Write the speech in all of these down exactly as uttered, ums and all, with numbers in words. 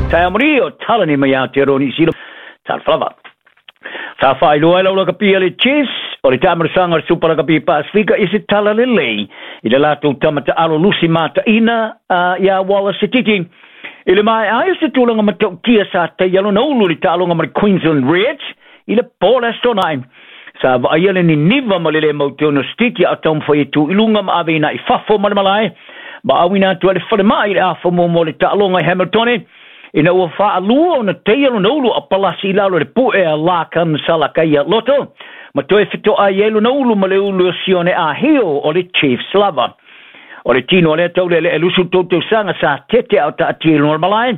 Taeao manuia o talani mai Aotearoa Niu Sila. Talofa lava. Sa faailoa ai le aulakapi a le Chiefs o le taamilosaga o le Supa Lakapi Pasifika i se tala lelei i le latou tama taalo lusi mataina uh, ia Wallace Sititi. I le maea ai o se tulaga matautia sa taia lona ulu i le taaloga ma le Queensland Reds i le po o le Aso Toonai. Sa vaaia le niniva ma le lē mautonu o Sititi a o taumafai e tu i luga ma aveina i fafo ma le malae ma auina atu ai le falemai i le afa muamua o le taaloga i Hamilton ina ua faalua ona taia lona ulu a palasi i lalo i le pu'e a Larkin Salakaia-Loto ma toe feto'ai ai lona ulu ma le ulu o Sione Ahio o le Chiefs lava. O le tino o lea taule'ele'e lusu tou tausaga sa tete a o taatia i luga o le malae,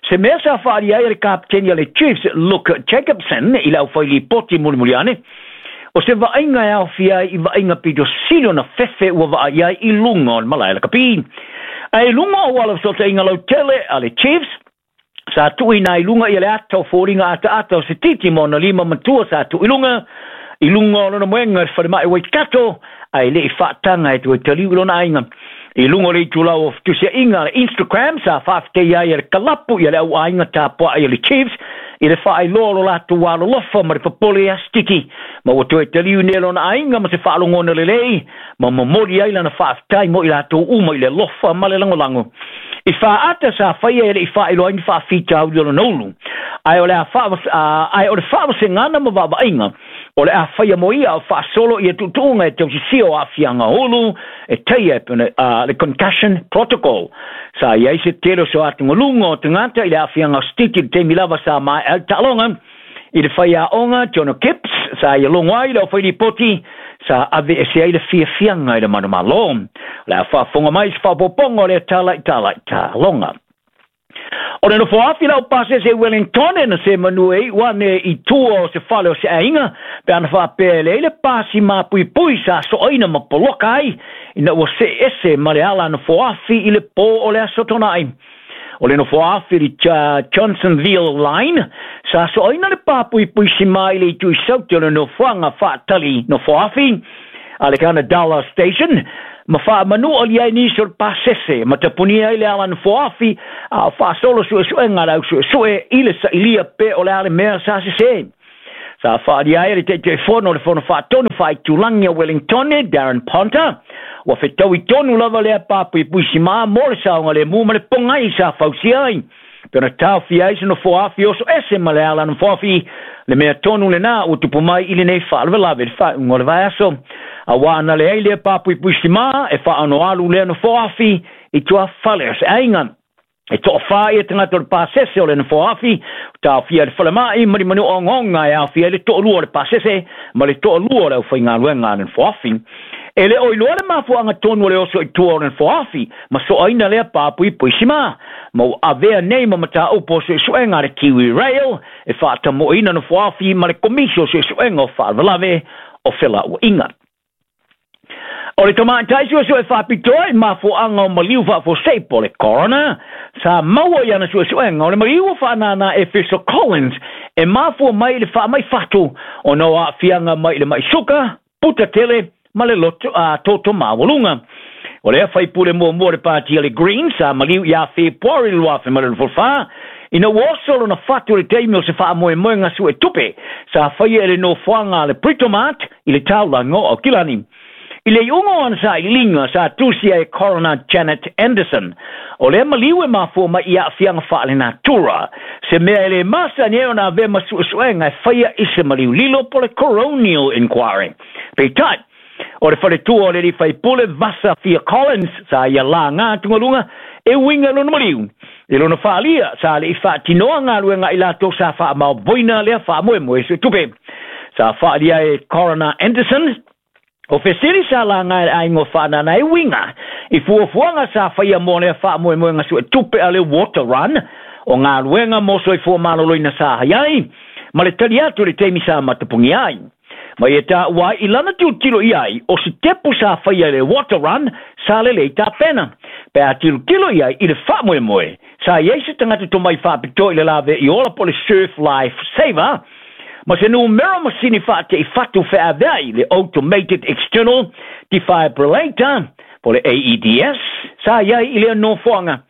se mea sa faaali ai e le kapeteni a le Chiefs Luke Jacobson i le aufailipoti mulimuli ane, o se vaaiga e aofia ai i vaaiga pito sili ona fefe ua vaai ai i luga o le malae lakapi. Ae i luga o auala fesootaiga lautele a le Chiefs, sa tuuina ai i luga ia le ata o foliga ataata o Sititi ma ona lima matua sa tuu i luga i luga o lona moega i le falemai Waikato, ae le i faataga e toe taliu i lona aiga. I luga o le itulau o fetusiaiga a le Instagram sa faafetai ai e le kalapu ia le auaiga tapuai a le Chiefs i le faailoa o lo latou alolofa ma le popole ia Sititi, ma ua toe taliu nei lona aiga ma se faalogona lelei ma momoli ai lana faafetai mo i latou uma i le alofa ma le lagolago. I faaata sa faia e le i faailoa ai ni faafitauli o lona ulu, ae o le a ae o le faavasegana ma vaavaaiga o le a faia mo ia o faasolo ia tuutuuga e tausisia o aafiaga ulu e taia e pei ona le concussion protocol. Sa i ai se tele o se atugaluga o tagata i le aafiaga o Sititi i le taimi lava sa maea ai le taaloga. I le faiaoga Jono Gibbs sa ia logo ai le aufailipoti sa aveese ai le fiafiaga i le manumalo. O le a faafofoga mai i se faaopoopoga o lea tala i tala i taaloga. O le nofoafi lau pasese i Wellington na se manu e iu ane i tua o se fale o se aiga pe ana faapea e leai le pasi mapuipui sa soaina ma poloka ai ina ua see ese ma le ala nofoafi i le po o le Aso Toonai. O le nofoafi i le Johnsonville Line sa soaina le papuipui simā i le itu i saute o le nofoaga faatali nofoafi a le Gunnedah Station ma faamanu'ali ai nisi o le pasese ma tapunia ai le ala nofoafi a o faasolo suesuega a le au suesue i le sailia pe o le a le mea sa sesē. Sa faalia ai e le Taitaifono o le Fono Faatonu Faaitulagi a Wellington Darren Ponter ua fetaui tonu lava lea papuipui simā mo le saogalemu ma le pogai sa fausia ai pe ona taofia ai se nofoafi oso ese ma le ala nofoafi le mea tonu lenā ua tupu mai i lenei faalavelave i le faaiuga o le vaiaso. Auā na leai lea papuipui simā e faaonoalu lea nofoafi i tuafale o se aiga. E toafā ia tagata o le pasese o le nofoafi ua taofia i le falemai ma ni manu ogaoga e aofia ai le toalua o le pasese ma le toalua o le aufaigaluega a le nofoafi. E le o iloa le mafuaaga tonu o le oso i tua o le nofoafi ma soaina lea papuipui simā, ma ua avea nei ma mataupu o suesuega a le Kiwi Rail e faatamoeina nofoafi ma le Komisi o Suesuega o Faalavelave o Felauaiga. O le tamaitai suesue faapitoa i mafuaaga o maliu faafuasei po o le coroner sa maua i ana suesuega o le maliu ua faanānā Efeso Collins e mafua mai i le faamai fatu ona o aafiaga mai i le mai suka, puta tele ma le loto a toto maualuga. O lea faipule muamua o le pati a le Greens sa maliu ia Fepuari luafe ma le luafulufa ina ua oso lona fatu i le taimi o se faamoemoega suetupe sa faia e le nofoaga a le Britomart i le taulaga o Aukilani. I le iuga o ana sailiga sa tusia e Coroner Janet Anderson, o lea maliu e mafua mai i aafiaga faalenatura, se mea e lē masani ai ona avea ma suesuega e faia i se maliu lilo po o le coronial inquiry. Peitai, o le faletua o le alii faipule Vasa Fia Collins sa ia lagā atugaluga e uiga i lona maliu. I lona faalia sa le'i faatinoa galuega i latou sa faamaopoina lea faamoemoe suetupe. Sa faalia e Coroner Anderson o fesili sa laga e le aiga o faanana e uiga i fuafuaga sa faia mo lea faamoemoega suetupe a le Water Run o galuega mo soifua maloloina sa hai ai ma le tali atu i le taimi sa matapugia ai. Ma ia taua ai i lana tilotilo i ai o se tepu sa faia i le Water Run sa lelei tapena. Pe a tilotilo i ai i le faamoemoe sa i ai se tagata tomai faapitoa i le lave i ola po o le Surf Life Saver ma se numera masini faate'i fatu feavea'i le Automated External Defibrillator po o le A E D S sa i ai i lea nofoaga.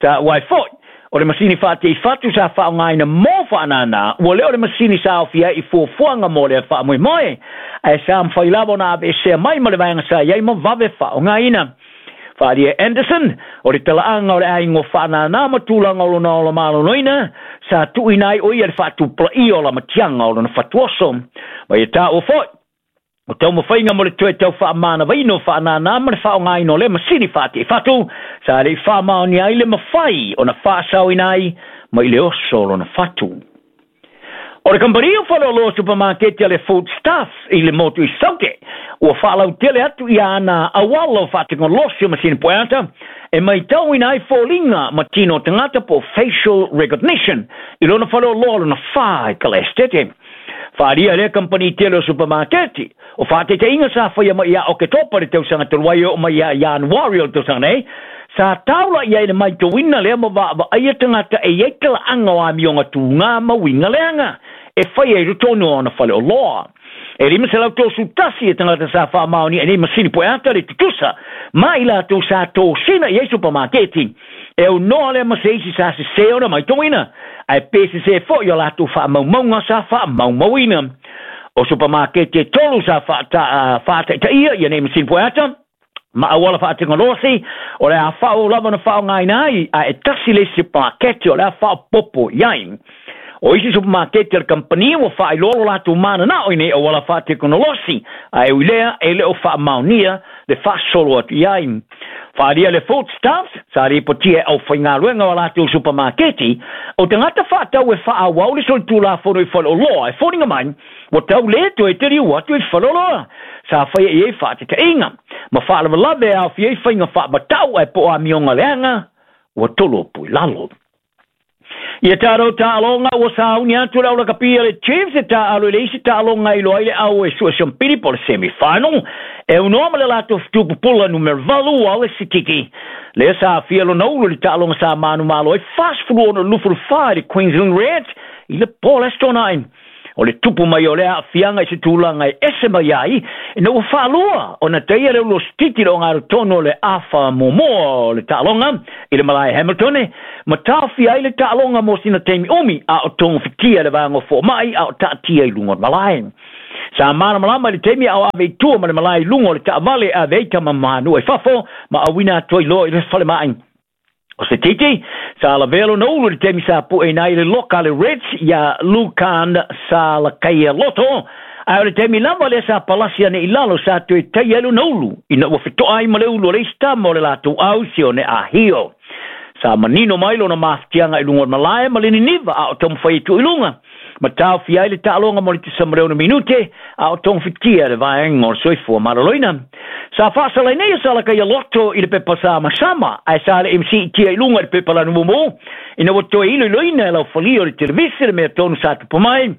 Taua ai fo'i O le masini fa'ate'i fatu sa fa'aogāina mo fa'anānā ua lē o le masini sa aofia ai i fuafuaga mo lea fa'amoemoe ae sa mafai lava ona aveesea mai ma le vaega sa iai ma vave fa'aogāina. Fa'alia Anderson o le tala'aga o le aiga o fa'anānā ma tulaga o lona ola maloloina sa tu'uina ai o ia le fa'atupulaia o lamatiaga o lona fatuoso ma ia tā'ua fo'i o taumafaiga mo le toe tau fa'amanavaina o fa'anānā ma le fa'aogāina o le masini fa'ate'i fatu sa le'i fa'amaonia ai le mafai ona fa'asaoina ai mai le oso o lona fatu. O le kamupani o faleoloa supamaketi a le Foodstuffs i le motu i Saute ua fa'alautele atu ia ana auala o fa'atekonolosi o masini pueata e maitauina ai foliga ma tino o tagata po facial recognition i lona faleoloa lona fā i Kalaesetete. Fa'alia lea kampani tele o supamaketi o fa'ataitaiga sa faia mai ia Oketopa le tausaga talu ai oo mai ia Ianuari o le tausaga nei sa taula ia i le maitauina lea ma va'ava'aia tagata e iai tala'aga o amioga tugā ma uiga leaga e faia i totonu o ona faleoloa. E lima selau tosu tasi e tagata sa fa'amaonia e nei masini pueata le tutusa ma i latou sa tosina i ai supamaketi e aunoa lea ma se isi sa sesē ona maitauina ae pe sesē fo'i o latou fa'amaumauga sa fa'amaumauina. O supamaketi e tolu sa fa'ata'ita'ia ia nei masini pueata ma auala fa'atekonolosi o le a fa'aau lava ona fa'aogāina ai ae tasi le isi supamaketi o le a fa'aopopo i ai. O isi supamaketi a le kampani ua fa'ailoa lo latou manana'o i nei auala fa'atekonolosi ae ui lea e lē o fa'amaonia le fa'asolo atu i ai. Fa'alia le Foodstuffs sa lipotia e aufaigaluega o latou supamaketi o tagata fa'atau e fa'aauau le solitulafono i faleoloa e foliga mai ua tau lē toe taliu atu i le faleoloa sa faia i ai fa'ateta'iga ma fa'alavelave e aofia ai faiga fa'amata'u ae po o amioga leaga ua tolo pui lalo. Ia tātou ta'aloga ua sauni atu le aulakapia le Chiefs e ta'alo i le isi ta'aloga i loa ai le au e su'esompili po le semi-final e unoa ma le latou fetupupula numera valu ao le Sititi. Lea sa afia lona ulu i le ta'aloga sa manumalo ai fasefulu ono lufulufā i le Queensland Reds i le po le aso Tona'i. O le tupu mai o lea a'afiaga i se tulaga e ese mai ai ina ua fa'alua ona taia le ulu o Sititi le ogatotonu o le afa muamua o le ta'aloga i le malae Hamilton ma taofia ai le ta'aloga mo sina taimi umi a o togofitia le vaega o fo'oma'i a o ta'atia i luga o le malae. Sa malamalama i le taimi a o ave i tua ma le malae i luga o le ta'avale ave ai tamamanua i fafo ma auina atu ai loa i le falema'i. O se titi, sa lavea lona ulu i le taimi sa pu'eina ai le loka le Reds ia Lukan sa lakaia loto, ae o le taimi lava lea sa palasi ane i lalo sa toe taia ai lona ulu, ina ua feto'a ai ma le ulu o le isi tama o le latou au sione ahio. Sa manino mai lona mafatiaga i luga o le malae ma le niniva a o taumafai atu i luga. Ma taofia ai le ta'aloga mo le tusa ma le ono minute a o togofitia le vaega o le soifua maloloina. Sa fa'asalai nei salakaia loto i le pepa sa masama ae sa le mc tia i luga i le pepa lanu mumu ina ua toe iloiloina e laufalia o le televisi le mea tonu sa tupu mai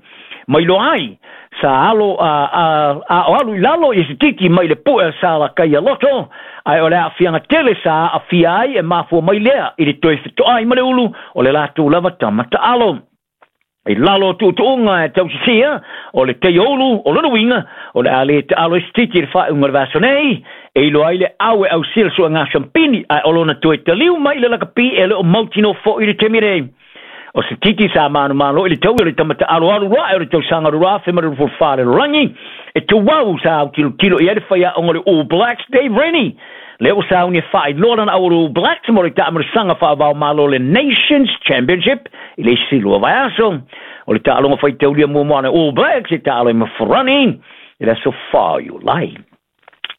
mai loa ai sa alo a, a, a o alu i lalo i se titi mai le pu'e sa lakaia loto ae o le a'afiaga tele sa a'afia ai e mafua mai lea i le toe feto'ai ma le ulu o le latou lava tama ta'alo. I lalo o tu'utu'uga e tausisia o le teioulu o lona uiga o le a lē ta'alo ai se titi i le fa'aiuga o le vaiaso nei e iloa ai le au e ausia le su'ega sampini ae o lona toe taliu mai i le lakapi e le o mautino fo'i le taimi nei. O se titi sa manumalo i le taui o le tama ta'aloalo ra'e o le tausaga lua afe ma le luafulufa le lalolagi e tuau sa autilotilo i ai le faia'oga o le All Blacks Dave Rennie. Lea ua sauni e fa'ailoa lana au o le All Blacks mo le ta'amilisaga fa'avao-malo le Nations Championship i le isi lua vaiaso. O le ta'aloga faitaulia muamua ana All Blacks e ta'alo ai ma Farani i le aso fā o Iulai.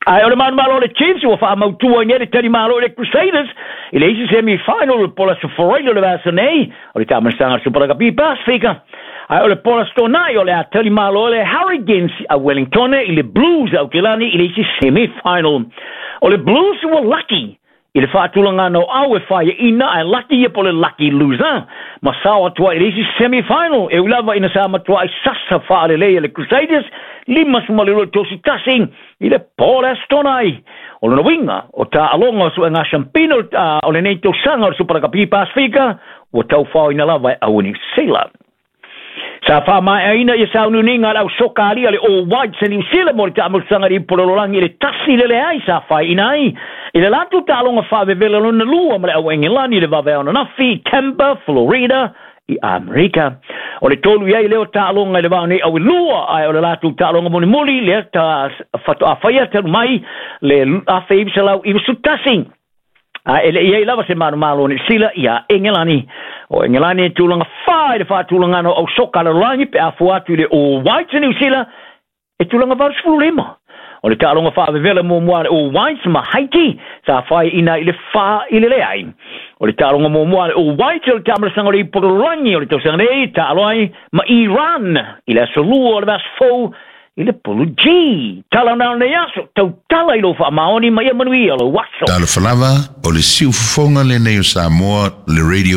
Ae o le manumalo o le Chiefs ua fa'amautua ai nei le talimalo i le Crusaders i le isi semi-final o le pola Soforaila o le vaiaso nei o le ta'amilisaga Super Rugby Pasifika. Ae o le pola Tona'i o le a talimalo le Hurricanes a Wellington i le Blues a Aukelani i le isi semi-final. O le Blues ua laki i le fa'atulagana o au e faia'ina ae laki ia po le lucky loser ma sao atu ai i le isi semi-final e ui lava ina sa matua'i sasa fa'alelei e le Crusaders lima suma le lua tosi tasi i le po le aso Tona'i. O lona uiga o ta'aloga o su'ega sampino o lenei tausaga o le Super Rugby Pasifika ua taufaoina lava e au Niu Sila. Sa Sa faamaeaina ia sauniuniga a le ausoka alia le All Whites a Niusila mo le taamulusaga i le ipu lalolagi i le tasi i le leai sa faiina ai i le latou taaloga faavevela lona lua ma le au Engelani i le vaveao ananafi i Tampa, Florida i Amerika. O le tolu i ai lea o taaloga i le vao nei au e lua, ae o le latou taaloga mulimuli lea ta faatoa faia talu mai le afe iva selau iva sefulu tasi. Ae e le i ai lava se manumalo o Niusila iā Engelani. O Engelani e tulaga fa i le faatulagana o ausoka lalolagi pe a fua atu i le All Whites a Niusila e tulaga valu sefulu lima. O le taaloga faavevela muamua a le All Whites ma Haiti sa faiina i le fa i le leai. O le taaloga muamua a le All Whites o le taamalasaga o le ipu lalolagi o le tausaga nei taalo ai ma Iran i le aso lua o le vaiaso fou i le Pulu G. Tala na o lenei aso, tautala i lou faamaoni ma ia manuia lou aso. Talofa lava, o le siufofoga lenei o Samoa, le Radio